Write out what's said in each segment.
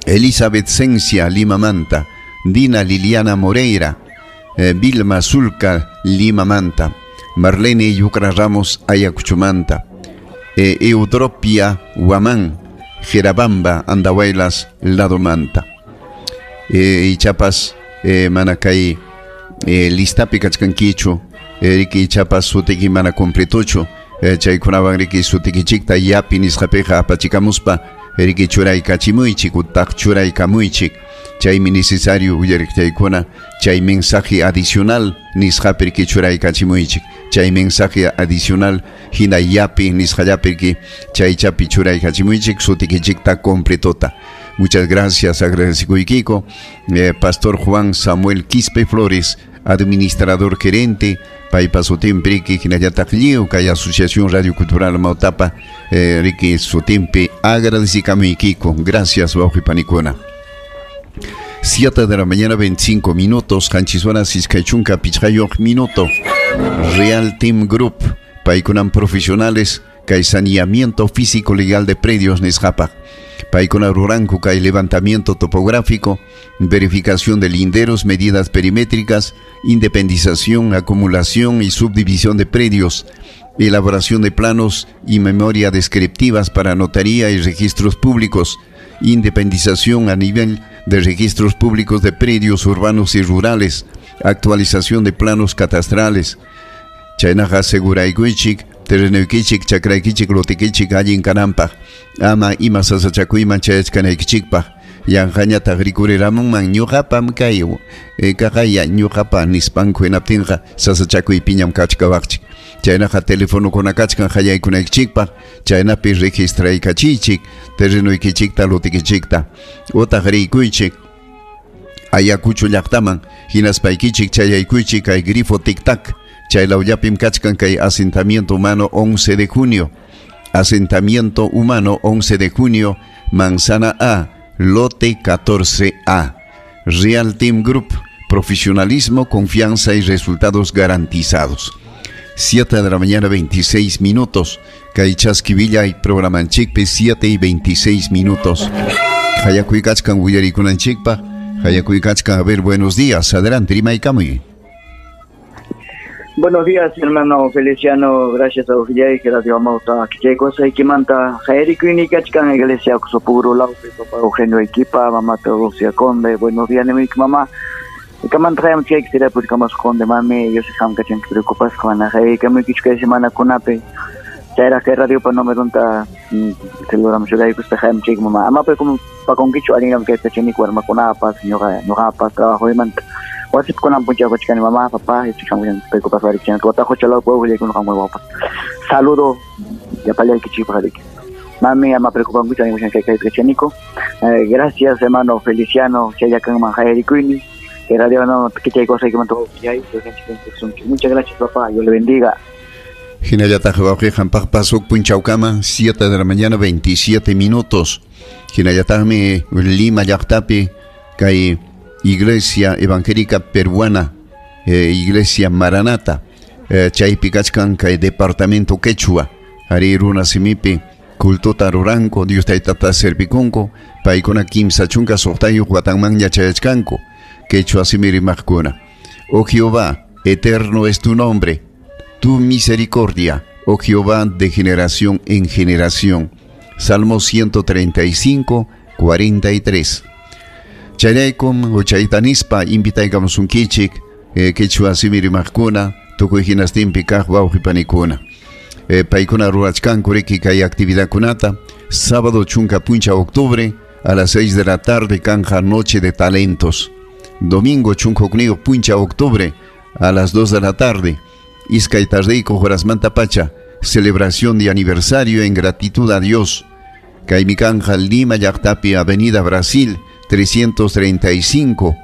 Elizabeth Sencia Limamanta, Dina Liliana Moreira, Vilma Zulca Limamanta, Marlene Yucra Ramos Ayacuchumanta, Eutropia Guamán, Jerabamba Andahuaylas Ladomanta. Ichapas mana kay listapi kachkankichu, riki ichapas sutiki mana completochu, chaykunawan riki sutikichikta yapi nisqapiqa apachikamuspa riki churaykachimuychik utaq churaykamuychik. Chaymi necesario uyariqchaykuna chay mensaje adicional nisqapi riki churaykachimuychik. Chay mensaje adicional hina yapi nisqallapi riki chaychapi churaykachimuychik sutikichikta completota. Muchas gracias, agradecikuykiko. Pastor Juan Samuel Quispe Flores, administrador gerente, paypa sutinpi riki hinallataq lliw kay Asociación Radio Cultural Mautapa, riki sutinpi agradecikamuykiko. Gracias, wawqi panikuna. 7 de la mañana, 25 minutos, qanchis horas iskay chunka pichqayuq minuto. Real Team Group, paykunan profesionales kay saneamiento físico legal de predios nisqapaq. Paykuna ruranku kay levantamiento topográfico, verificación de linderos, medidas perimétricas, independización, acumulación y subdivisión de predios, elaboración de planos y memoria descriptivas para notaría y registros públicos, independización a nivel de registros públicos de predios urbanos y rurales, actualización de planos catastrales. Chaynaqa aseguraykuchik, terrenuykichik, chakraykichik, lotikichik allin kananpaq, ama ima sasachakuyman chayachkanaykichikpaq, yanqañataq rikuriramunman ñuqapam kay kaqaya ñuqapa nispanku hinaptinqa sasachakuypiñam kachkawaqchik. Chaynaqa telefonokuna kachkan qallaykunaykichikpaq, chaynapi registraykachiychik terrenuykichikta lotikichikta, utaq riykuychik Ayacucho llaqtaman, hinaspaykichik chayaykuychik kay grifo tic-tac. Chay lawllapim kachkan kay asentamiento humano 11 de junio. Asentamiento humano 11 de junio, Manzana A, lote 14A. Real Team Group, profesionalismo, confianza y resultados garantizados. 7 de la mañana, 26 minutos. Kay Chaski Villay programanchikpi 7 y 26 minutos. Hayakuykachkan willarikunanchikpaq. Hayakuykachkan, a ver, buenos días. Adelante, rimaykamuy. Buenos días, hermano Feliciano. Gracias a Ujillay, que Radio Amauta. Que cosa y que manta Jaerikuinikachkan, Iglesia Oxopuro, Laupe, papá Eugenio Equipa, mamá Teodosia Conde. Buenos días, mi mamá. Kamanta hayam chay que será pues como conde mami, yo sé que que preocupas con la jai, que me quicho que semana kunape. Chayra que radio pa no me donta celular me ayuda pues hayam chay mamá. Ama pues como pa con quicho alguien que está chini cuerma kunapa, señora, no pa trabajo y manta. Wasip kunan puncha kochkani mamá, papá, y chichan preocupas varichana, tu atajo chalao pueblo y con muy guapa. Saludo, ya palea que chipa jarique. Mami, ama preocupan mucho, hay mucha que hay que. Gracias, hermano Feliciano, Chayacan Manjaerikuini, que radio no, que chay cosa que mantuvo que hay, muchas gracias, papá, Dios le bendiga. Hinallataq wawqiqampaq pasuk punchawkama, 7 de la mañana, 27 minutos. Hinallataqmi Lima llaqtapi kay Iglesia Evangélica Peruana, Iglesia Maranata, chaypi kachkan kay Departamento Quechua, ari runa simipi cultuta ruranku, Dios taytata servikunku, paykuna kimsa chunka suqtayuq watanmanña chayachkanku, quechua simi rimaqkuna. Oh Jehová, eterno es tu nombre, tu misericordia, oh Jehová, de generación en generación. Salmo 135, 43. Chayraykum uchaytanispa invitaykamusunkichik, quechua simi rimaqkuna, tukuy hinastinpi kaq wawqipanikuna. Paykuna rurachkanku riki kay actividadkunata, sábado chunka puncha octubre a las 6 de la tarde kanja Noche de Talentos. Domingo chunka hukniyuq puncha octubre a las 2 de la tarde, iskay tardeyku horasmanta pacha, celebración de aniversario en gratitud a Dios. Kaymi kanja Lima llaqtapi Avenida Brasil 335,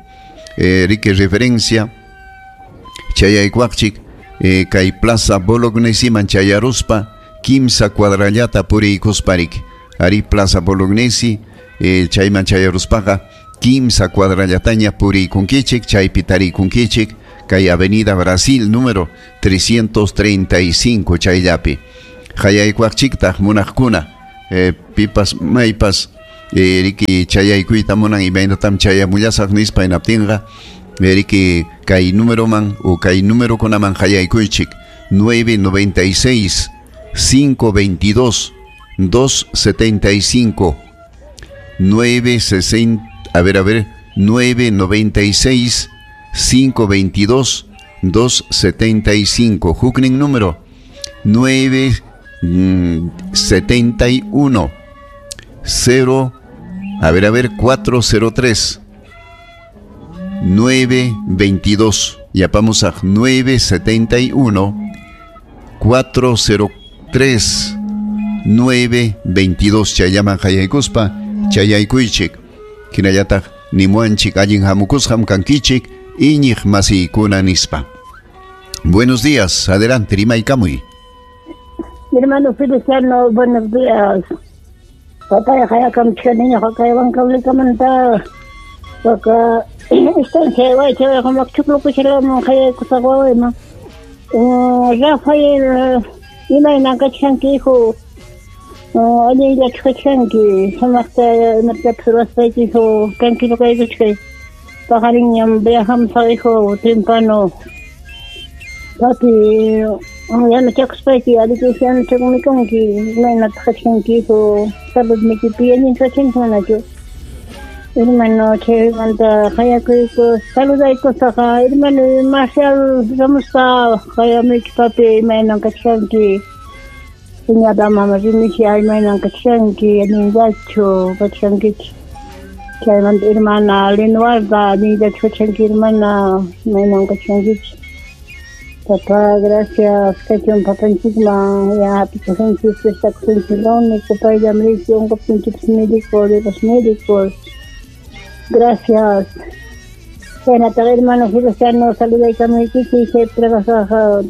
riki referencia chayaykuaqchik, kay Plaza Bolognesi chayaruspa kimsa cuadrallata puriykusparik. Ari Plaza Bolognesi, chayman chayaruspaqa kimsa cuadrallataña puriykunkichik, chaypi tarikunkichik kay Avenida Brasil número 335 chayllapi. Hayaykuaqchiktaq munaqkuna, pipas maypas Riki chayaykuyta munan imaynatam chayamullasaq nispa hinaptinqa riki kay numeroman o kay numerokunaman qayaykuychik 996 522 275 960, a ver, 996 522 275. Huknin número 971 0, a ver, 403 922. Ya vamos a 971 403 922. Chayaman hayaykuspa chayaykuychik hinallataq nimuanchik allin hamukusqam kankichik iñiq masiykuna nispa. Buenos días, adelante, rimaykamuy. Mi hermano Feliciano, buenos días. Papá, hayakamchkaniña kaywankablikamanta waka estancia waycha humakchuklukuchalaman hayaykusaq wawayman. Rafael, imaynan kachkanki hijo, allinllachu kachkanki, sumaqta imatapas ruwaspayki hijo, tranquilo kaykuchkay. Paqarinñam viajamusaq hijo, temprano. Papi, yanachakuspayki, allinta yanachakumikunki, imaynataq kachkanki hijo, saludniykipi allin kachkanki manachu. Hermano, chaymanta hayakuyku, saludaykusaqa, hermano Marcial Ramuspa, hayamuyki papi, imaynan kachkanki. Señora mama Rimicia, imaynan kachkanki, allinllachu kachkankichik. Chaymanta hermana Lenuarda, allinllachu kachkanki, hermana, imaynan kachkankichik. Papá, gracias, kachun papanchikman, ya hapichasunchik, prestakusunchik único, payllam riki, unquptinchikpas médico de los médicos. Gracias. Chaynataqa hermano Feliciano, saludaykamuykichik, chay trabajaq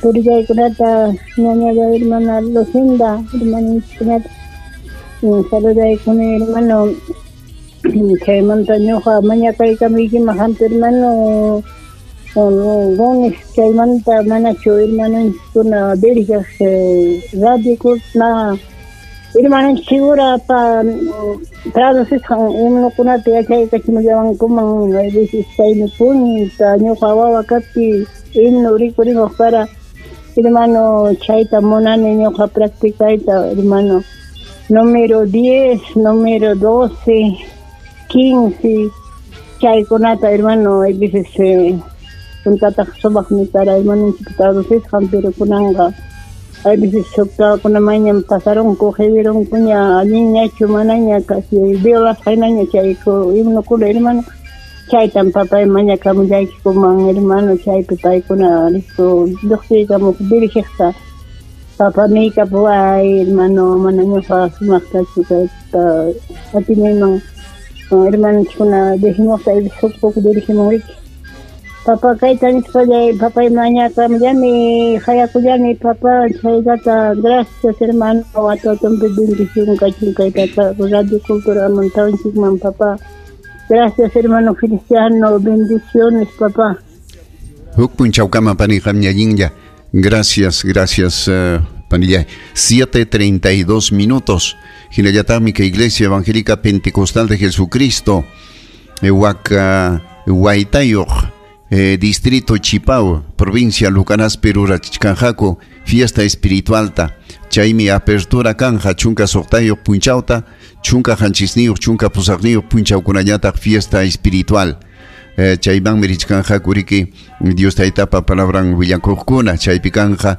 turiyaykunata, ñañaya hermana Lucinda, hermanunchikkunata. Saludaykuni hermano, chaymanta ñuqa mañakaykamuykiman hampi hermano Gómez, chaymanta manachu hermanunchikkuna dirigeq radiokuna hermanunchik segura pa traducisqan himnokunata yachaykachimullawankuman, a veces chaymi punta ñuqa wawa kaptiy himno rikurimuq para hermano chayta munani ñuqa practicayta hermano. Número 10, número 12, 15, chaykunata hermano, a veces puntataq sumaqmi para hermanunchik traducisqan, pero kunanqa a veces kunamañam pasarunku, qhiwirunkuña, allinñachu manaña casi violasqaynaña chay himnokuna hermano. Chaytam papay mañakamullaykikuman hermano, chaypi paykuna listo lluqsiykamuq dirigeqta. Papá niykapuway hermano, mana ñuqa sumaqtachu kayta atinayman hermanunchikkuna dirigimuqta, huk poco dirigimun riki. Papá kayta nispallay, papay mañakamullani, hayakullani, papá, chaylata, gracias hermano, watatumpi bendición kachun kaytata Radio Cultura montawanchikman, papá. Gracias hermano Feliciano, bendiciones papá. Huk punchawkama pani qamñallinlla. Gracias, gracias panillay. 7:32 minutos. Hinallataqmi que Iglesia Evangélica Pentecostal de Jesucristo, Huaca Huaytayuq, Distrito Chipao, provincia Lucanas, Perú, Rachichkanjaco, fiesta espiritualta. Chaymi apertura kanja, chunka soqtayuq punchawta, chunka hanchisniyuq, chunka pusaqniyuq punchawkunallataq fiesta espiritual. Chaymanmi richkanjaku riki Dios taytapa palabran willakuqkuna, chaypi kanja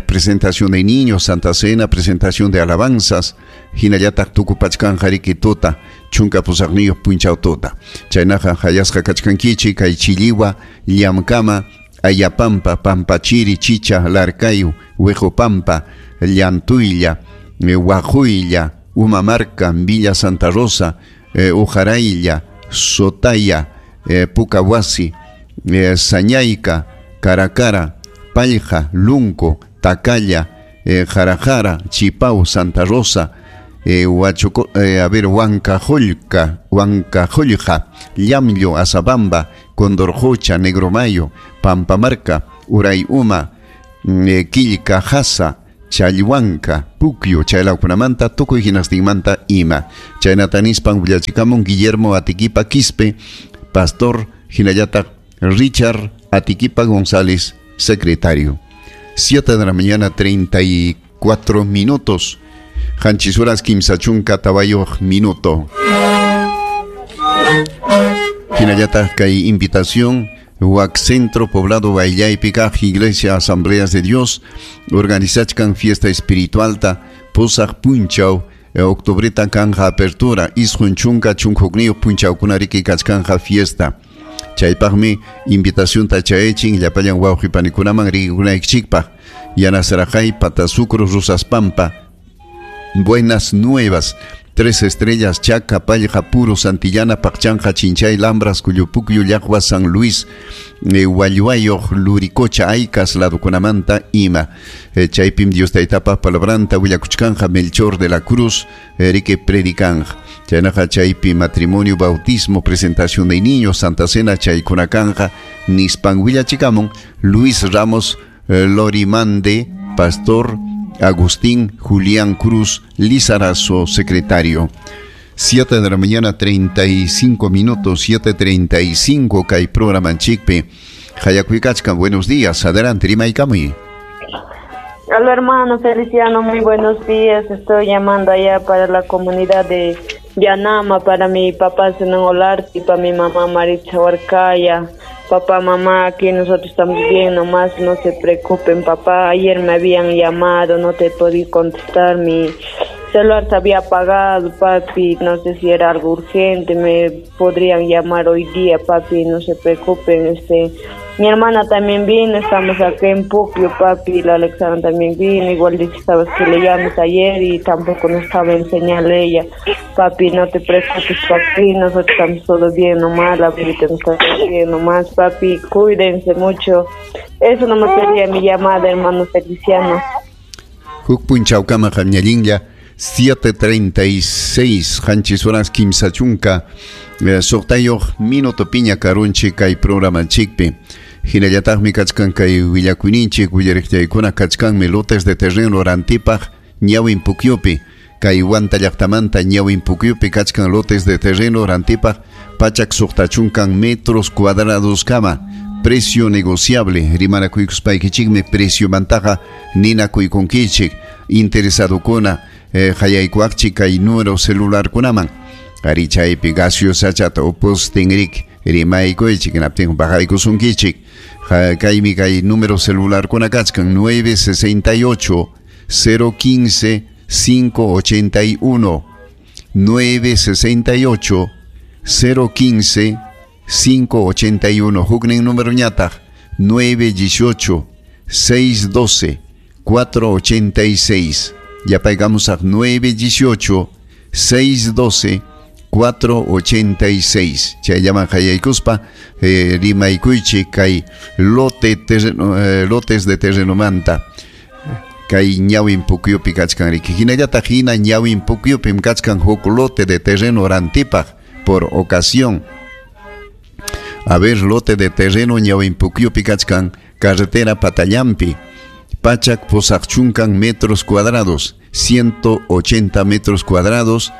presentación de niños, Santa Cena, presentación de alabanzas, hinallataq tukupachkanja riki tuta, chunka pusaqniyuq punchaw tuta. Chaynaqa hayasqa kachkankichik kay Chilliwa, Llamkama, Ayapampa, Pampachiri, Chicha, Larcayu, Huejopampa, Llantuylla, Huajuylla, Umamarca, Villa Santa Rosa, Ujaraylla, Sotaya, Pucahuasi, Sañayca, Caracara, Palja, Lunco, Tacalla, Jarajara, Chipau, Santa Rosa, Huancajollca, Llamllo, Azabamba, Condorjocha, Negromayo, Pampamarca, Urayuma, Quillcajasa, Chalhuanca, Puquio, chaylawkunamanta, tukuy hinastinmanta ima. Chaynata nispan willachikamun Guillermo Atiquipa Quispe, pastor hinallataq Richard Atiquipa González, secretario. 7 de la mañana, 34 minutos. Qanchis horas kimsa chunka tawayuq minuto. Hinallataq kay invitación Huac Centro Poblado Baillaypi kaq Iglesia Asambleas de Dios organizachkan fiesta espiritualta pusaq punchaw octubreta kanja apertura isqun chunka chunka punchawkuna riki kachkanja fiesta. Chaypaqmi invitación chayachin llapallan wawqi panikunaman rikunaykichikpaq Yanasarajay, Patasucro, Rusaspampa, Buenas Nuevas, Tres Estrellas, Chaca, Pallja, Puro, Santillana, Pacchanja, Chinchay, Lambras, Cuyupucyu, Llaqwa, San Luis, Hualluayoq, Luricocha, Aycas, Ladukunamanta, Ima. Chaypim Dios taytapa palabranta, willakuchkanja, Melchor de la Cruz, riki predicanja. Chaynaqa chaypi matrimonio, bautismo, presentación de niños, Santa Cena, chaykunakanja, nispan willachikamun, Luis Ramos Lorimande, pastor Agustín Julián Cruz Lizarazo, secretario. 7 de la mañana, 35 minutos, 7:35, kay programanchikpi. Hayakuykachkan, buenos días, adelante, rimaykamuy. Hola hermano Feliciano, muy buenos días. Estoy llamando allá para la comunidad de Yanama, para mi papá Zenón Olarte y para mi mamá Maritza Huarcaya. Papá, mamá, aquí nosotros estamos bien, nomás no se preocupen, papá. Ayer me habían llamado, no te podí contestar, mi celular se había apagado, papi, no sé si era algo urgente, me podrían llamar hoy día, papi, no se preocupen. Mi hermana también vino, estamos acá en Puquio, papi, la Alexandra también vino, igual dice, sabes que le llamas ayer y tampoco no estaba en señal ella. Papi, no te preocupes, papi, nosotros estamos todos bien nomás, la bebita nos está bien nomás, papi, cuídense mucho. Eso no me pedía mi llamada, hermano Feliciano. Huk punchawkama qamñallinlla, 7:36, qanchis horas kimsa chunka, suqtayuq minuto piña karunchik kay programanchikpi. Hinallataqmi kachkan kay willakuyninchik willariqllaykuna kachkanmi lotes de terreno rantipaq ñawin Pukyupi. Kay Huanta llaqtamanta ñawin Pukyupi kachkan lotes de terreno rantipaq pachak suqta chunkan metros cuadrados kama. Precio negociable, rimanakuykuspaykichikmi precio mantaqa ninakuykunkichik. Interesadokuna hayaykuaqchik kay número celularkunaman. Ari chaypi gaseosachata upustin rik rimaykuychik hinaptin bajaykusunkichik. Kaymi kay número celularkuna kachkan 968 015 581 968 015 581. Huknin número ñataq 918 612 486. Yapaykamos a 918 612 486. Chayllaman hayaykuspa rimaykuychik kay lote terreno, lotes de terreno manta kay ñawin Pukyupi kachkan riki. Hinallataq hina ñawin Pukyupim kachkan huk lote de terreno rantipaq por ocasión. A ver, lote de terreno ñawin Pukyupi kachkan carretera Patallampi, pachak pusaqchunkan metros cuadrados, 180 metros cuadrados,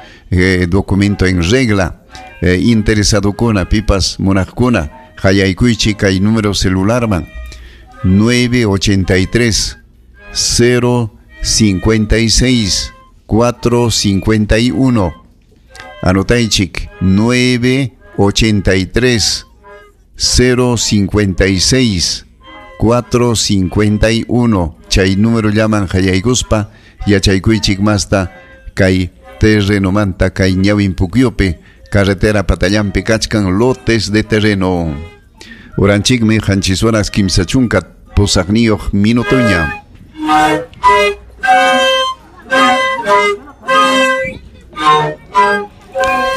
documento en regla, interesado kuna, pipas munaqkuna, hayaykuychik kay número celularman 983 056 451. Anotaychik 983 056 451. Chay número llaman hayaykuspa yachaykuychik masta kay terreno manta kay ñawin Pukyupi carretera Patallampi kachkan lotes de terreno. Uranchikmi qanchis horas kimsa chunka pusaqniyuq minutuña.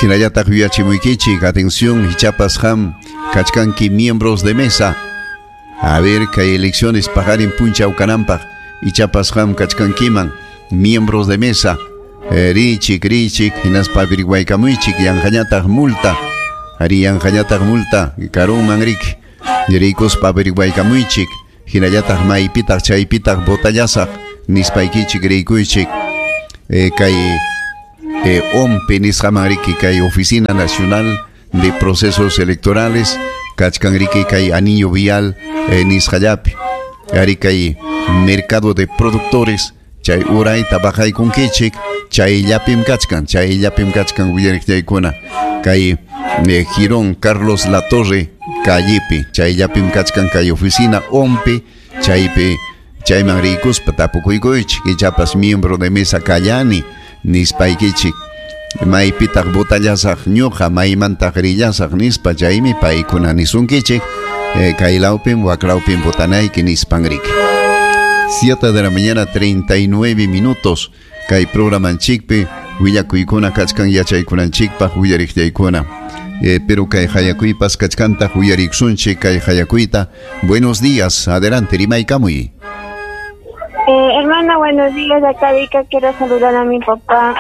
Hinallataq yuyachimuykichik, atención, hichapas ham kachkanki miembros de mesa. A ver, kay elecciones paqarin punchaw kananpaq ichapas ham kachkankiman miembros de mesa. Richik, richik, hinaspa averiguaykamuychik, yanqañataq multa. Ari yanqañataq multa, karunman rik. Rikuspa averiguaykamuychik, hinallataq maypitaq chaypitaq botallasaq nispaykichik riykuychik kay OMPE nisqaman riki kay Oficina Nacional de Procesos Electorales kachkan riki kay anillo vial nisqallapi ari kay mercado de productores chay urayta bajaykunkichik chayllapim kachkan willariqllaykuna kay Girón Carlos Latorre callepi chayllapim kachkan kay oficina OMPE chaypi chayman riykuspa tapukuykuychik ichapas miembro de mesa kallani nispaykichik maypitaq botallasaq ñuqa maymantaq rillasaq nispa chaymi paykuna nisunkichik kay lawpim waklawpim botanayki nispan riki. 7 de la mañana 39 minutos kay programanchikpi willakuykuna kachkan yachaykunanchikpaq willariqllaykuna pero kay hayakuypas kachkantaq willariksunchik kay hayakuyta. Buenos días, adelante, rimaykamuy. Hermana, buenos días. Acá Vika, quiero saludar a mi papá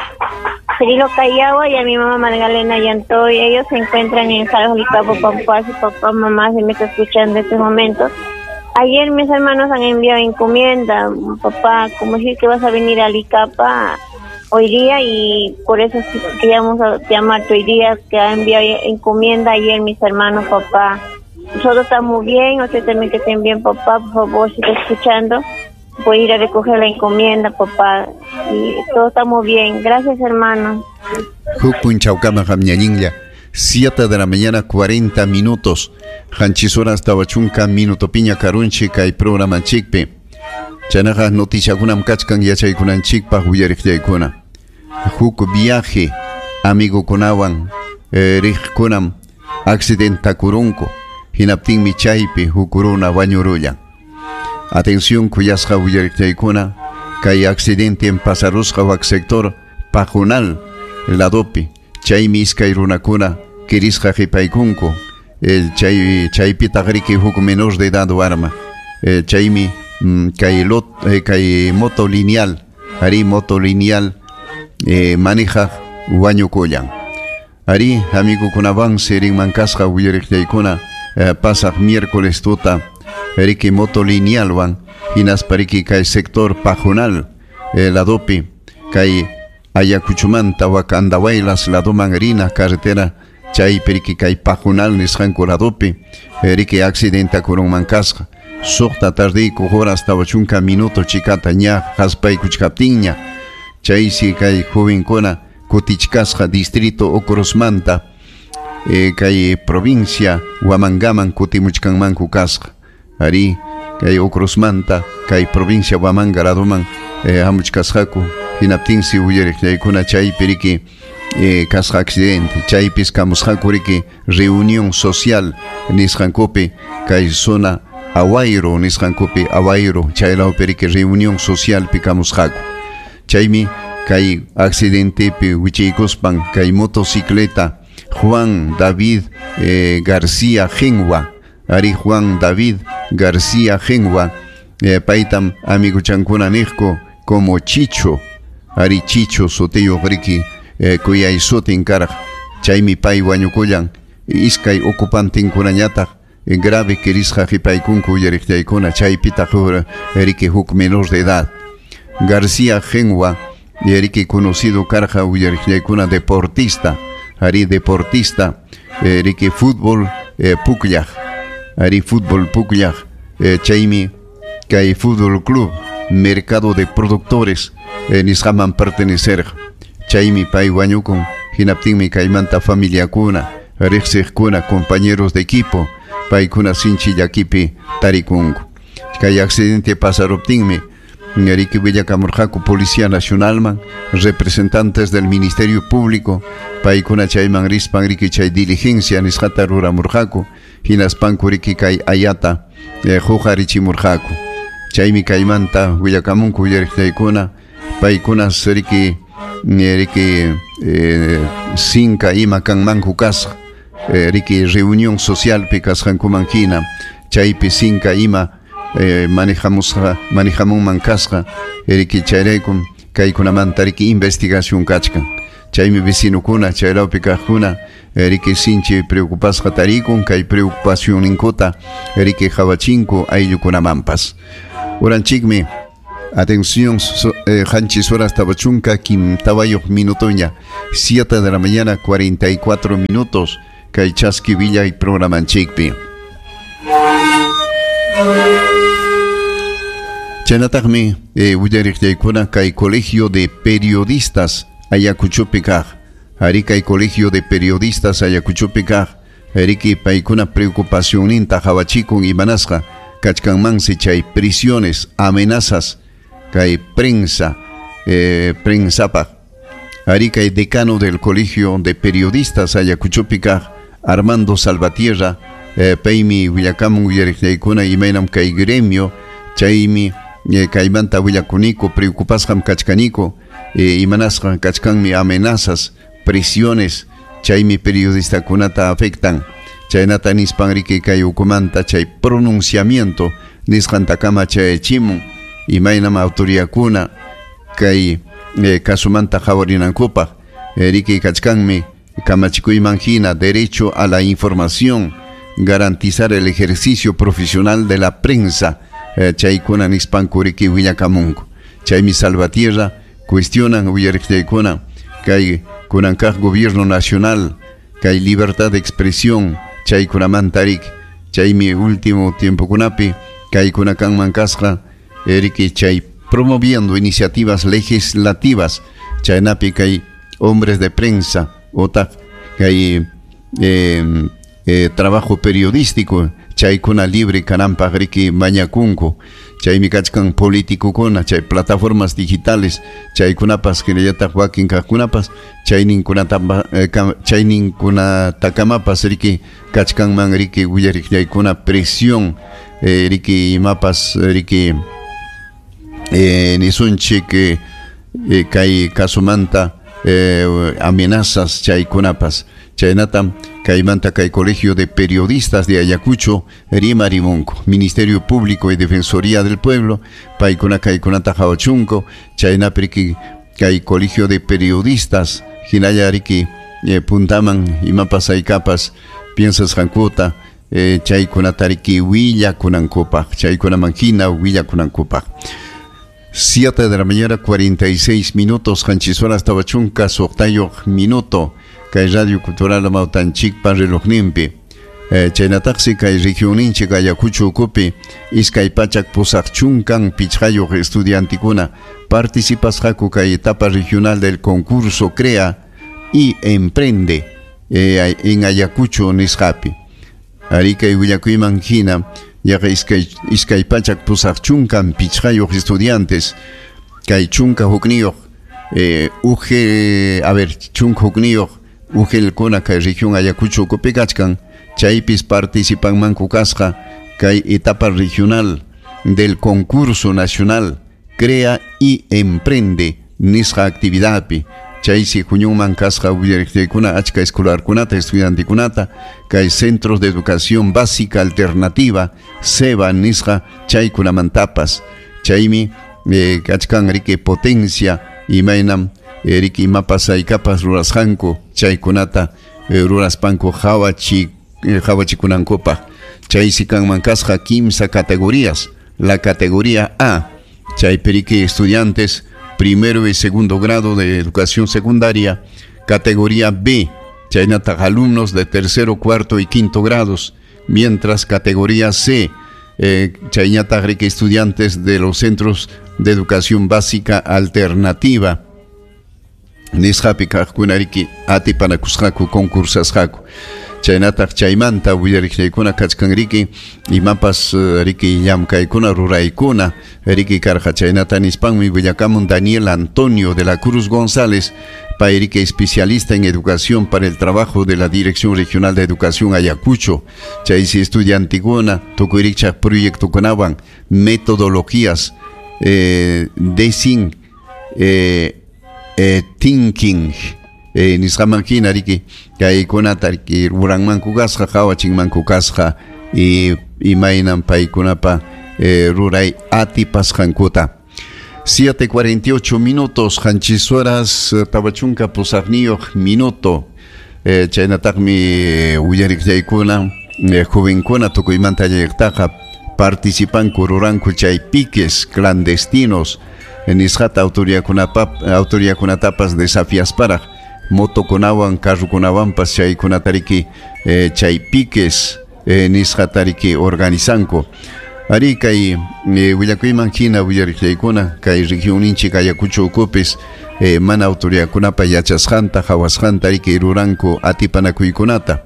Cirilo Callagua y a mi mamá Magdalena Yantoy. Ellos se encuentran en Jalolicapo, Pampas, y papá, mamá se me está escuchando en este momento. Ayer mis hermanos han enviado encomienda, papá, como decir que vas a venir a Licapa hoy día y por eso queríamos llamarte hoy día, que ha enviado encomienda ayer mis hermanos, papá. Nosotros estamos bien, usted también que estén bien, papá, por favor, si está escuchando, voy a ir a recoger la encomienda, papá, y todos estamos bien. Gracias, hermano. 7 de la mañana 40 minutos. Hanchis horas tawachunka minuto piña karunchi kay programa chikpi. Chanaja noticiakunam kachkan yachaykunanchikpaq willariqllaykuna. Huk viaje amigukunawan riqkunam accidentakurunku. Hinaptinmi chaypi huk runa wañurullan. Atención kuyasqa willariqllaykuna kay accidente en pasarusqa wak sector Pajunal ladopi. Chaymi iskay runakuna kirisqa qhipaykunku. El chaypitaq riki huk menor de edad warma. Chaymi kay lot kay moto lineal, ari moto lineal manejaq wañukullan. Ari amigukunawan sirinman kasqa willariqllaykuna pasaq miércoles tuta riki moto linealwan hinaspa riki kay sector Pajunal ladopi kay Ayacuchumanta wak Andahuaylas ladoman rina carretera chaypi riki kay Pajunal nisqanku ladopi riki accidentakurunman kasqa. Suqta tardiyku horas 40 minuto chikata ña haspaykuchkaptinña chaysi kay jovenkuna kutichkasqa distrito Ocrosmanta kay provincia Huamangaman kutimuchkanmanku kasqa. Ari kay Ocrosmanta kay provincia Huamanga ladoman hamuchkasqaku. Hinaptinsi willariqllaykuna chaypi riki kasqa accidente chaypis kamusqaku riki reunión social nisqankupi kay zona Aguairo nisqankupi Aguairo chaylawpi riki reunión socialpi kamusqaku. Chaymi kay accidentepi wichiykuspan kay motocicleta Juan David García Gengua, ari Juan David García Gengua paytam amiguchankuna niqku como Chicho, ari Chicho sutiyuq riki kuyay sutin karaq. Chaymi pay wañukullan iskay ocupantinkunañataq grave kirisqa qhipaykunku willariqllaykuna chaypitaq riki huk menor de edad. García Gengua riki conocido karqa willariqllaykuna deportista, ari deportista riki fútbol pukllaq, ari fútbol pukllaq chaymi kay fútbol club mercado de productores nisqaman pertenecer. Chaymi pay wañukun hinaptinmi kaymanta familiakuna riqsiqkuna compañeros de equipo paykuna sinchi llakipi tarikunku. Kay accidente pasaruptinmi riki willakamurqaku Policía Nacionalman representantes del Ministerio Público paykuna chayman rispan riki chay diligencia nisqata ruramurqaku hinaspanku riki kay ayata huqarichimurqaku. Chaymi kaymanta willakamunku willariqllaykuna paykuna riki sinka ima kanmanku kasqa riki reunión socialpi kasqankuman hina chaypi sinka ima manejamunman kasqa riki chayraykum kaykunamanta riki investigación kachkan. Chaymi vecinokuna chaylawpi kaqkuna riki sinchi preocupasqa tarikun kay preocupacionninkuta riki qhawachinku ayllukunamanpas. Uranchikmi Atención, qanchis horas 40 kimtawayuq minutoña, 7 de la mañana 44 minutos, kay Chaski Villa y programanchikpi. Chaynataqmi willariqllaykuna kay Colegio de Periodistas Ayacuchopi kaq. Ari kay Colegio de Periodistas Ayacuchopi kaq, riki paykuna preocupacionninta qhawachikun imanasqa kachkanmansi chay prisiones, amenazas kay prensa, prensapaq. Ari kay decano del Colegio de Periodistas Ayacuchopi kaq, Armando Salvatierra, paymi willakamun willariqllaykuna imaynam kay gremio, chaymi kaymanta willakuniku, preocupasqam kachkaniku, imanasqa kachkanmi amenazas, presiones, chaymi periodistakunata afectan. Chaynata nispan riki kay ukumanta chay pronunciamiento nisqantakama chayachimun imaynam autoridadkuna kay kasumanta qhawarinankupaq. Riki kachkanmi kamachikuyman hina derecho a la información, garantizar el ejercicio profesional de la prensa, chaykuna nispanku riki willakamunku. Chaymi Salvatierra cuestionan willariqllaykuna kay kunankaq gobierno nacional kay libertad de expresión chaykunamanta riki. Chaymi último tiempokunapi kaykuna kanman kasqa riki chay promoviendo iniciativas legislativas chaynapi kay hombres de prensa otaq kay trabajo periodístico chaykuna libre kananpaq riki mañakunku. Chaymi kachkan políticokuna chay plataformas digitales chaykunapas hinallataq wakin kaqkunapas chayninkunatakamapas riki kachkanman riki willariqllaykuna presión riki imapas riki nisunchik kay kasumanta amenazas chaykunapas. Chaynatam kaymanta kay Colegio de Periodistas de Ayacucho rimarimunku, Ministerio Público y Defensoría del Pueblo paykuna kaykunata qhawachunku. Chaynapi riki kay Colegio de Periodistas hinalla riki puntaman imapas haykapas piensasqankuta chaykunata riki willakunankupaq, chaykunaman hina willakunankupaq. 7 de la mañana 46 minutos, qanchis horas 40 suqtayuq minuto kay Radio Cultural Amawtanchikpa relojninpi. Chaynataqsi kay regionninchik Ayacucho ukupi 285 estudiantikuna participasqaku kay etapa regional del concurso Crea y Emprende en Ayacucho nisqapi. Ari kay willakuyman hina yaqa 285 estudiantes kay 11 UG, a ver, 11 ujelkuna kay región Ayacucho ukupi kachkan, chaypis participanmanku kasqa kay etapa regional del concurso nacional Crea y Emprende nisqa actividadpi. Chaysi huñunman kasqa willariqllaykuna achka escolarkunata estudiantikunata kay centros de educación básica alternativa CEBA nisqa chaykunamantapas. Chaymi kachkan riki potencia imaynam riki imapas haykapas rurasqanku chaykunata ruraspanku qhawachikunankupaq. Chaysi kanman kasqa 15 categorías. La categoría A, chaypi riki estudiantes primero y segundo grado de educación secundaria. Categoría B, chaynataq alumnos de tercero, cuarto y quinto grados. Mientras categoría C, chaynataq riki estudiantes de los centros de educación básica alternativa. Nisqapi kaqkuna riki atipanakusqaku concursasqaku. Chaynataq chaymanta willariqllaykuna kachkan riki imapas riki llamkaykuna ruraykuna riki karqa. Chaynata nispanmi willakamun Daniel Antonio de la Cruz González, pay riki especialista en educación para el trabajo de la Dirección Regional de Educación Ayacucho. Chaysi estudiantikuna tukuy rikchaq proyectokunawan metodologías design thinking nisqaman hina riki kaykunata riki ruranmanku kasqa qhawachinmanku kasqa imaynam paykunapa ruray atipasqankuta. 7:48 minutos, qanchis horas 48 minuto. Chaynataqmi willariqllaykuna jovenkuna tukuymanta allayqtaqa participanku ruranku chay piques clandestinos nisqata autoridadkunatapas desafiasparaq motokunawan carrukunawanpas chaykunatariki chay piques nisqatariki organizanku. Ari kay willakuyman hina willariqllaykuna kay regionninchik Ayacucho ukupis mana autoridadkunapa yachasqanta hawasqanta riki ruranku atipanakuykunata.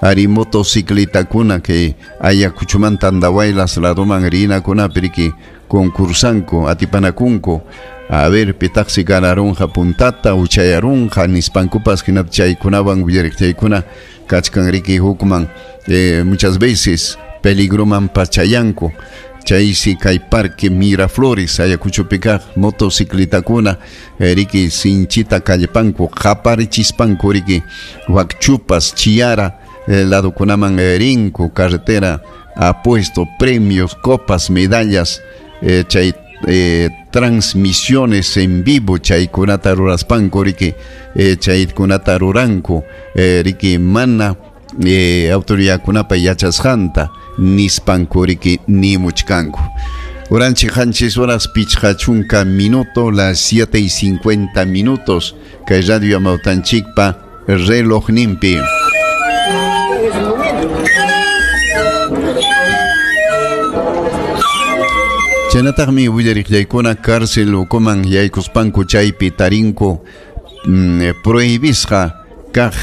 Ari motocicletakuna kay Ayacuchomanta Andahuaylas ladoman rinakunapi riki concursanku atipanakunku. A ver, pitaqsi ganarunqa puntata uchayarunqa nispankupas hinapi chaykunawan willariqllaykuna kachkan riki hukman muchas veces peligroman pachayanku. Chaysi kay parque Miraflores Ayacuchopi kaq motocicletakuna riki sinchita kallpanku qaparichispanku riki wakchupas Chiara ladokunaman rinku carretera ha puesto premios, copas, medallas chay transmisiones en vivo chaykunata ruraspanku riki chaykunata ruranku riki mana autoridadkunapa yachasqanta nispanku riki nimuchkanku. Uranchik qanchis horas pichqa chunka minuto, las 7:50 kay Radio Amawtanchikpa relojninpi. Chaynataqmi willariqllaykuna cárcel ukuman yaykuspanku chaypi tarinku prohibisqa kaq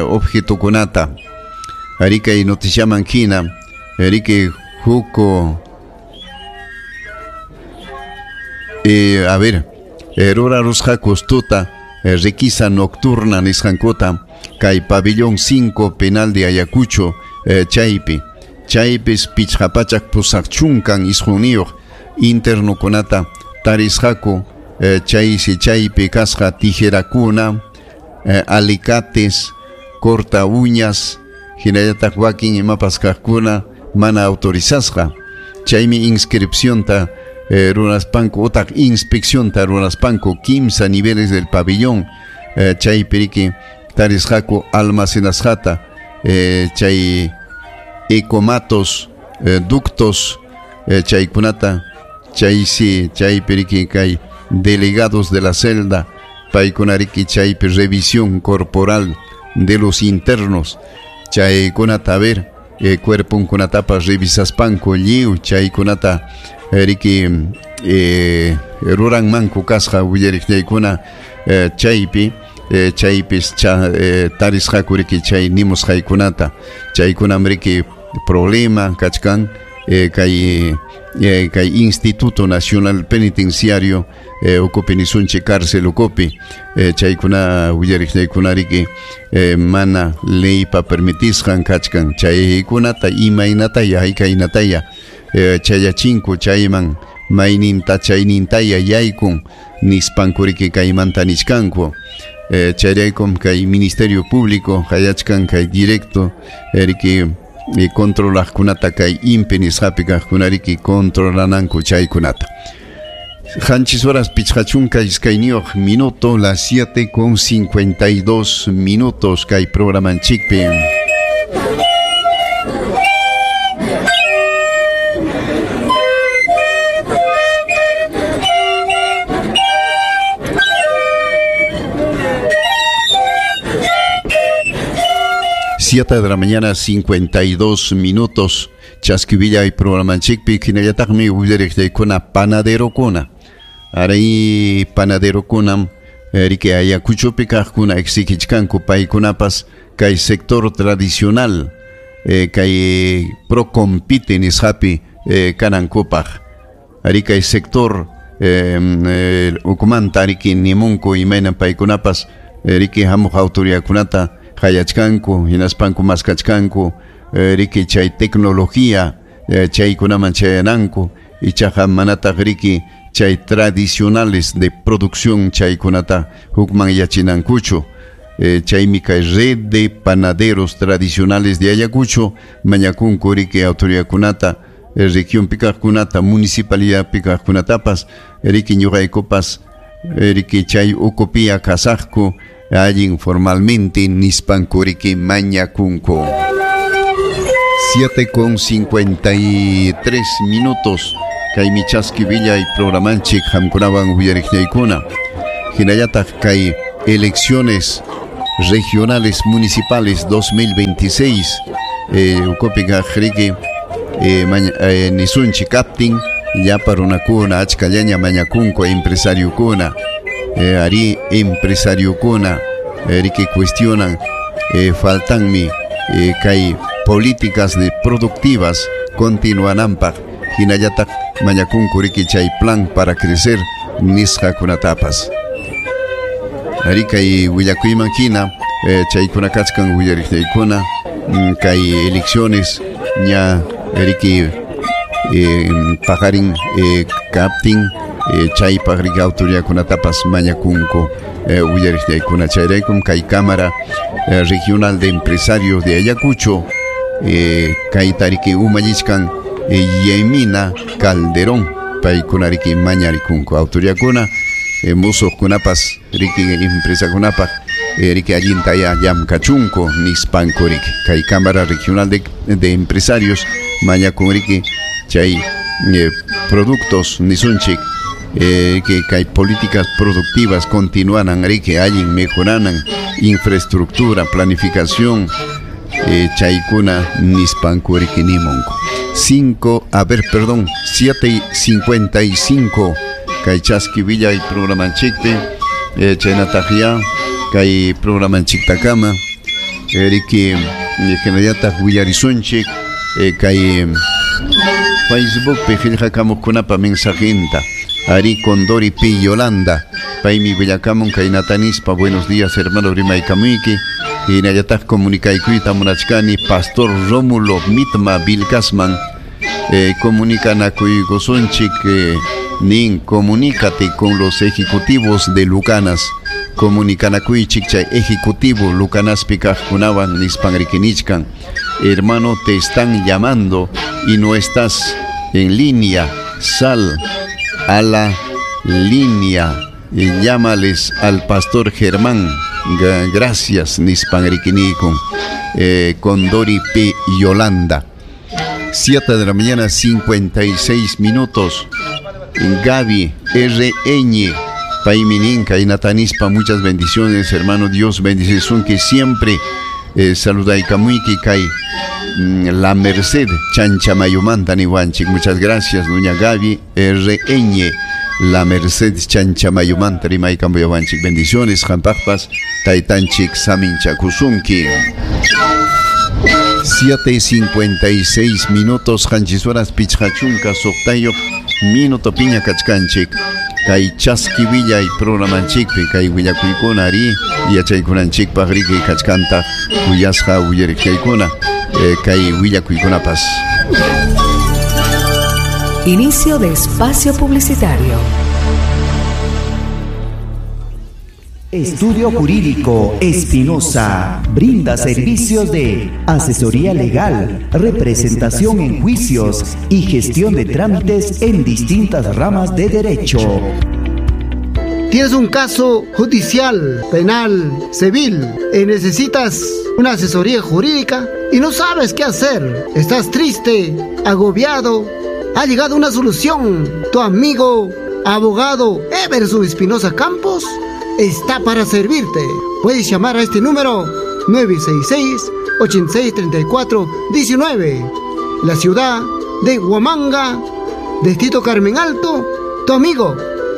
objetukunata. Ari kay noticiaman hina riki huk a ver rurarusqaku tuta requisa nocturna nisqankuta kay pabellón 5 penal de Ayacucho chaypi chaypis pichqa pachak pusaq chunkan isqunniyuq internokunata tarisqaku chaysi chaypi kasqa tijerakuna alicates, corta uñas, hinallataq wakin imapas kaqkuna mana autorizasqa. Chaymi inscripcionta ruraspanku utaq inspeccionta ruraspanku 15 niveles del pabellón chaypi riki tarisqaku almacenasqata chay ecomatos, ductos chaykunata chaysi chaypi riki kay delegados de la celda paykuna riki chaypi revisión corporal de los internos chaykunata a ver cuerponkunatapas revisaspanku lliw chaykunata riki ruranmanku kasqa willariqllaykuna chaypi chaypis tarisqaku riki chay nimusqaykunata chaykunam riki problema kachkan kay Instituto Nacional Penitenciario ukupi nisunchik cárcel ukupi chaykuna willariqllaykuna riki mana leypa permitisqan kachkan chaykunata imaynataya haykaynataya chayachinku chayman mayninta chaynintaya yaykun nispanku riki kaymanta nichkanku. Chayraykum kay Ministerio Público hayachkan kay directo riki controlaqkunata kay INPE nisqapi kaqkuna riki controlananku chaykunata. Qanchis horas pichqa chunka iskayniyuq minuto, las 7:52 kay programanchikpi. 7 de la mañana, 52 minutos. Chasquivilla y programanchikpi hinallataqmi willariqllaykuna panaderokuna. Aray panaderokunam riki Ayacuchopi kaqkuna exigichkanku paykunapas kay sector tradicional kay procompite nisqapi kanankupaq. Ari kay sector ukumanta riki nimunku imaynan paykunapas riki hamuq autoridadkunata hayachkanku hinaspanku maskachkanku riki chay tecnología chaykunaman chayananku ichaqa manataq riki chay tradicionales de producción chaykunata hukman yachinankuchu. Chaymi kay red de panaderos tradicionales de Ayacucho mañakunku riki autoridadkunata región kaqkunata municipalidad kaqkunatapas riki ñuqaykupas riki chay ukupia kasaqku allin formalmente nispanku riki mañakunku. 7:53. Kaymi chaski villay programanchik hamkunawan uyariqñaykuna. Hinallataq kay elecciones regionales municipales 2026 ukupiqa riki nisunchik kaptin llapa runakuna achkallaña mañakunku empresariokuna ari empresariokuna riki cuestionan faltanmi kay políticas de productivas continuananpaq hinallataq mañakunku riki chay plan para crecer nisqakunatapas. Ari kay willakuyman hina chaykuna kachkan willariqñaykuna kay elecciones ña riki paqarin kaptin chaypaq riki autoridadkunatapas mañakunku willariqñaykuna. Chayraykum kay Cámara Regional de Empresarios de Ayacucho kayta riki umallichkan Yemina Calderón paykuna riki mañarikunku autoridadkuna musuqkunapas riki empresakunapaq riki allinta ya llamkachunku nispanku riki kay Cámara Regional de Empresarios mañakun riki chay productos nisunchik que kay políticas productivas continuanan riki allin mejoranan infraestructura planificación chaykuna nispanku riki nimunku. 7:55 kay chaski villay programanchikpi chaynataq ya kay programanchiktakama riki hinallataq willarisunchik kay Facebookpi qillqakamuqkunapa mensajinta. Ari Condori P. Yolanda paymi willakamun kaynatanispa buenos días hermano rimaykamuyki hinallataq comunicaykuyta munachkani Pastor Rómulo Mitma Vilcasman comunicanakuykusunchik nin comunícate con los ejecutivos de Lucanas comunicanakuychik chay ejecutivo Lucanaspi kaqkunawan nispan rikinichkan. Hermano, te están llamando y no estás en línea, sal a la línea y llámales al pastor Germán. Gracias nispan rikinikun Condori P. Yolanda. 7:56 a.m. Gaby R. Ñ paymi nin kaynatanispa muchas bendiciones hermano, Dios bendice que siempre saludaykamuyki kay La Merced Chanchamayumanta niwanchik. Muchas gracias doña Gaby R. Ñ La Merced Chanchamayumanta rimaykambuyawanchik. Bendiciones qampaqpas taytanchik saminchakusunki. 7:56 minutos, qanchis horas pichqachunka suqtayuq minuto piña kachkanchik kay chaski villay programanchikpi kay willakuykuna ari yachaykunanchikpaq riki kachkantaq kuyasqa willariqchaykuna kay willakuykunapas. Inicio de espacio publicitario. Estudio Jurídico Espinosa brinda servicios de asesoría legal, representación en juicios y gestión de trámites en distintas ramas de derecho. Tienes un caso judicial, penal, civil y necesitas una asesoría jurídica y no sabes qué hacer. Estás triste, agobiado. Ha llegado una solución. Tu amigo, abogado Everson Espinosa Campos está para servirte. Puedes llamar a este número 966-8634-19. La ciudad de Huamanga, Distrito Carmen Alto, tu amigo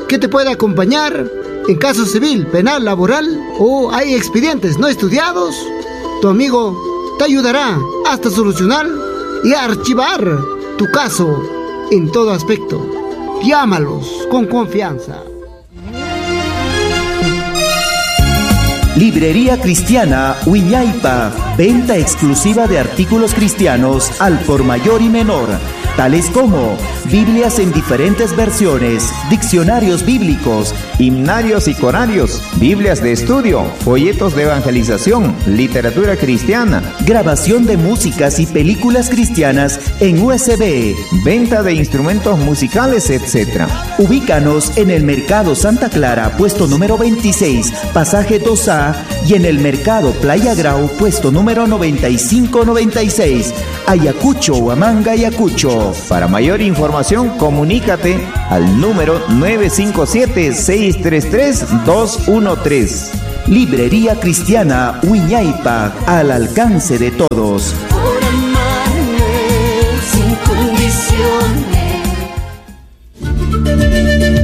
que te puede acompañar en caso civil, penal, laboral o hay expedientes no estudiados. Tu amigo te ayudará hasta solucionar y archivar tu caso en todo aspecto. Llámalos con confianza. Librería Cristiana Wiñaypa, venta exclusiva de artículos cristianos al por mayor y menor, tales como Biblias en diferentes versiones, diccionarios bíblicos, himnarios y corarios, Biblias de estudio, folletos de evangelización, literatura cristiana, grabación de músicas y películas cristianas en USB, venta de instrumentos musicales, etc. Ubícanos en el Mercado Santa Clara, puesto número 26, pasaje 2A, y en el Mercado Playa Grau, puesto número 9596. Ayacucho, Huamanga, Ayacucho. Para mayor información, comunícate al número 957-633-213. Librería Cristiana Wiñaypa, al alcance de todos. Por amarme sin condiciones.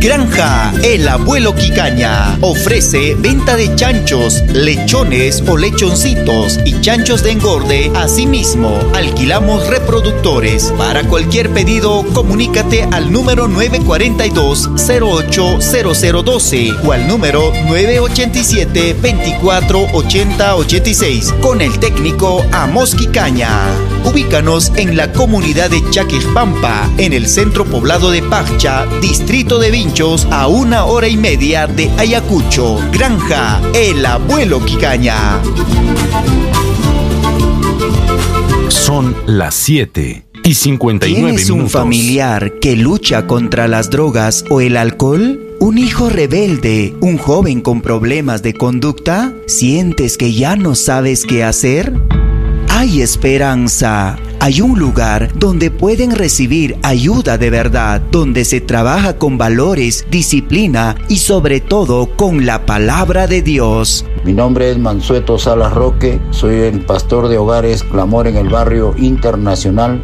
Granja El Abuelo Quicaña ofrece venta de chanchos, lechones o lechoncitos y chanchos de engorde. Asimismo, alquilamos reproductores. Para cualquier pedido, comunícate al número 942-080012 o al número 987-248086 con el técnico Amos Quicaña. Ubícanos en la comunidad de Chaquejpampa, en el centro poblado de Paccha, distrito de Vinchos, a 1h30 de Ayacucho. Granja El Abuelo Quicaña. Son las 7:59. ¿Tienes un familiar que lucha contra las drogas o el alcohol? ¿Un hijo rebelde? ¿Un joven con problemas de conducta? ¿Sientes que ya no sabes qué hacer? Hay esperanza. Hay un lugar donde pueden recibir ayuda de verdad, donde se trabaja con valores, disciplina y sobre todo con la palabra de Dios. Mi nombre es Mansueto Salas Roque, soy el pastor de Hogares Clamor en el Barrio Internacional.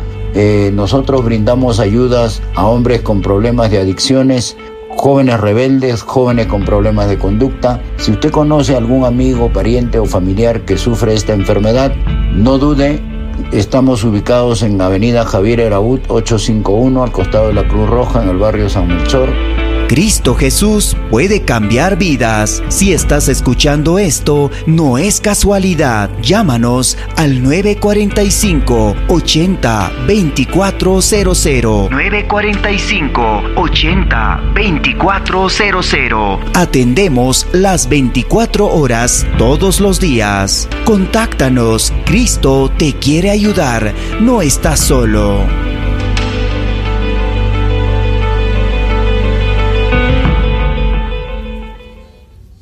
Nosotros brindamos ayudas a hombres con problemas de adicciones, jóvenes rebeldes, jóvenes con problemas de conducta. Si usted conoce a algún amigo, pariente o familiar que sufre esta enfermedad, no dude. Estamos ubicados en Avenida Javier Eraut 851, al costado de la Cruz Roja, en el barrio San Melchor. Cristo Jesús puede cambiar vidas. Si estás escuchando esto, no es casualidad. Llámanos al 945-80-2400. 945-80-2400. Atendemos las 24 horas todos los días. Contáctanos. Cristo te quiere ayudar. No estás solo.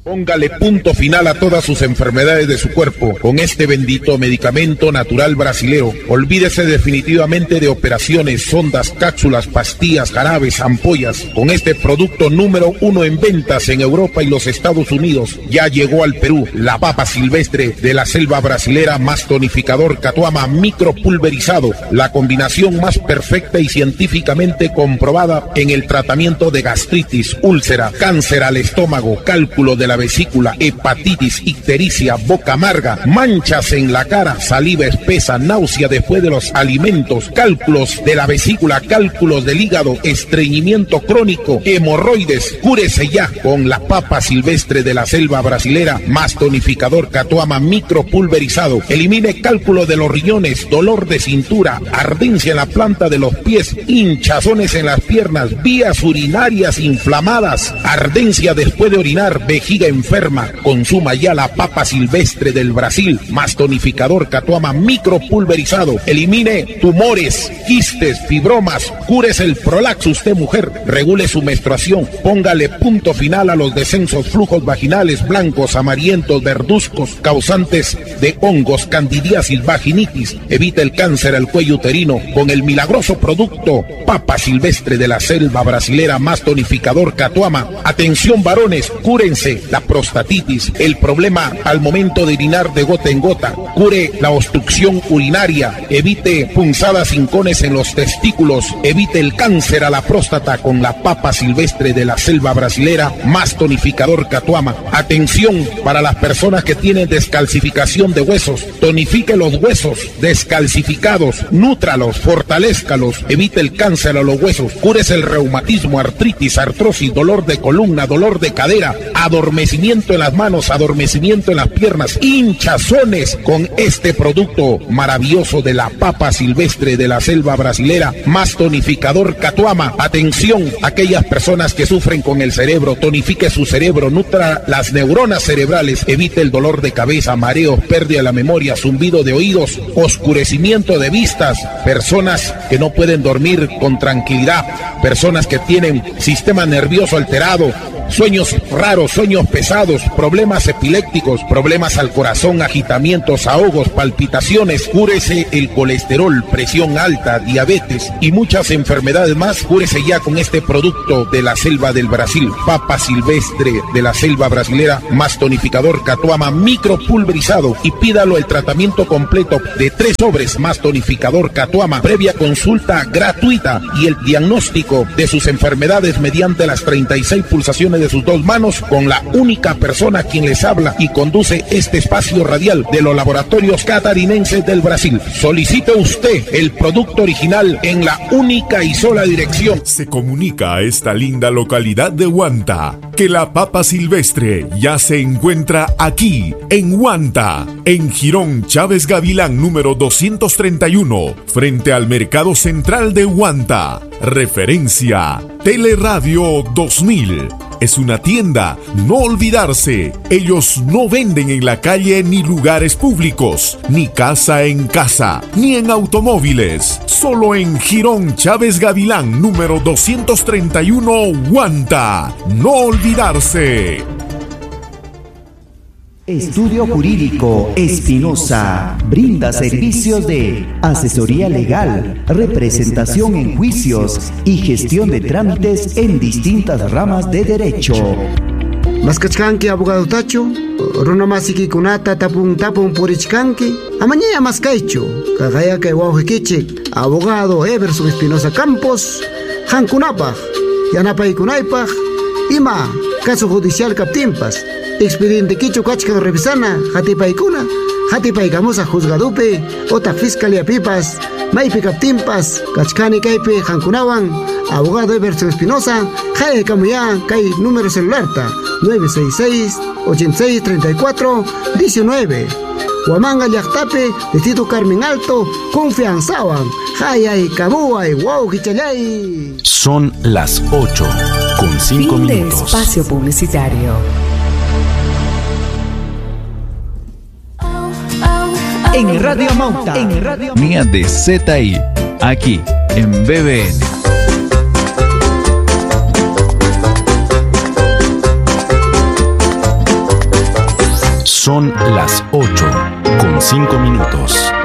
Póngale punto final a todas sus enfermedades de su cuerpo con este bendito medicamento natural brasilero. Olvídese definitivamente de operaciones, sondas, cápsulas, pastillas, jarabes, ampollas. Con este producto número 1 en ventas en Europa y los Estados Unidos, ya llegó al Perú la papa silvestre de la selva brasilera más tonificador Catuama micropulverizado, la combinación más perfecta y científicamente comprobada en el tratamiento de gastritis, úlcera, cáncer al estómago, cálculo de la vesícula, hepatitis, ictericia, boca amarga, manchas en la cara, saliva espesa, náusea después de los alimentos, cálculos de la vesícula, cálculos del hígado, estreñimiento crónico, hemorroides. Cúrese ya con la papa silvestre de la selva brasilera más tonificador Catuama micropulverizado. Elimine cálculo de los riñones, dolor de cintura, ardencia en la planta de los pies, hinchazones en las piernas, vías urinarias inflamadas, ardencia después de orinar, vejiga enferma. Consuma ya la papa silvestre del Brasil más tonificador Catuama micropulverizado. Elimine tumores, quistes, fibromas, cúrese el prolaxo usted mujer, regule su menstruación, póngale punto final a los descensos, flujos vaginales blancos, amarillentos, verduzcos, causantes de hongos, candidiasis, vaginitis. Evite el cáncer al cuello uterino con el milagroso producto papa silvestre de la selva brasilera más tonificador Catuama. Atención varones, cúrense la prostatitis, el problema al momento de orinar de gota en gota, cure la obstrucción urinaria, evite punzadas hincones en los testículos, evite el cáncer a la próstata con la papa silvestre de la selva brasilera más tonificador Catuama. Atención para las personas que tienen descalcificación de huesos, tonifique los huesos descalcificados, nútralos, fortalézcalos, evite el cáncer a los huesos, cúrese el reumatismo, artritis, artrosis, dolor de columna, dolor de cadera, adormecimiento en las manos, adormecimiento en las piernas, hinchazones con este producto maravilloso de la papa silvestre de la selva brasilera más tonificador Catuama. Atención, aquellas personas que sufren con el cerebro, tonifique su cerebro, nutra las neuronas cerebrales, evite el dolor de cabeza, mareos, pérdida de la memoria, zumbido de oídos, oscurecimiento de vistas, personas que no pueden dormir con tranquilidad, personas que tienen sistema nervioso alterado. Sueños raros, sueños pesados, problemas epilépticos, problemas al corazón, agitamientos, ahogos, palpitaciones. Cúrese el colesterol, presión alta, diabetes y muchas enfermedades más. Cúrese ya con este producto de la selva del Brasil, papa silvestre de la selva brasilera, más tonificador Catuama micropulverizado, y pídalo el tratamiento completo de 3 sobres más tonificador Catuama, previa consulta gratuita y el diagnóstico de sus enfermedades mediante las 36 pulsaciones de sus 2 manos, con la única persona quien les habla y conduce este espacio radial de los laboratorios catarinenses del Brasil. Solicite usted el producto original en la única y sola dirección. Se comunica a esta linda localidad de Huanta que la papa silvestre ya se encuentra aquí, en Huanta, en Jirón Chávez Gavilán número 231, frente al Mercado Central de Huanta. Referencia Teleradio 2000. Es una tienda, no olvidarse. Ellos no venden en la calle ni lugares públicos, ni casa en casa, ni en automóviles. Solo en Jirón Chávez Gavilán, número 231, Huanta. No olvidarse. Estudio Jurídico Espinosa brinda servicios de asesoría legal, representación en juicios y gestión de trámites en distintas ramas de derecho. Maskachkanki abogado tacho, runamasiki kunata tapun tapun purichkanki, amañaya maskaychu, kagayakay wawqikichik, abogado Everson Espinosa Campos, hankunapaq, yanapaykunaypaq, ima caso judicial kaptinpas. Expediente kichu kachkan revisana, hatipaykuna, hatipaykamusa juzgadupi, ota fiscalía pipas, maypi kaptinpas, kachkani kaypi hankunawan, abogado Everson Espinosa, hayakamuya kay número celularta, 966 86 34 19. Huamanga llaqtapi, Distrito Carmen Alto, confianzawan, hayay kamuay, wow kichalay. Son las 8:05 Fin de espacio publicitario. En Radio Mauta, en Radio Mía de ZI, aquí en BBN. Son las 8:05.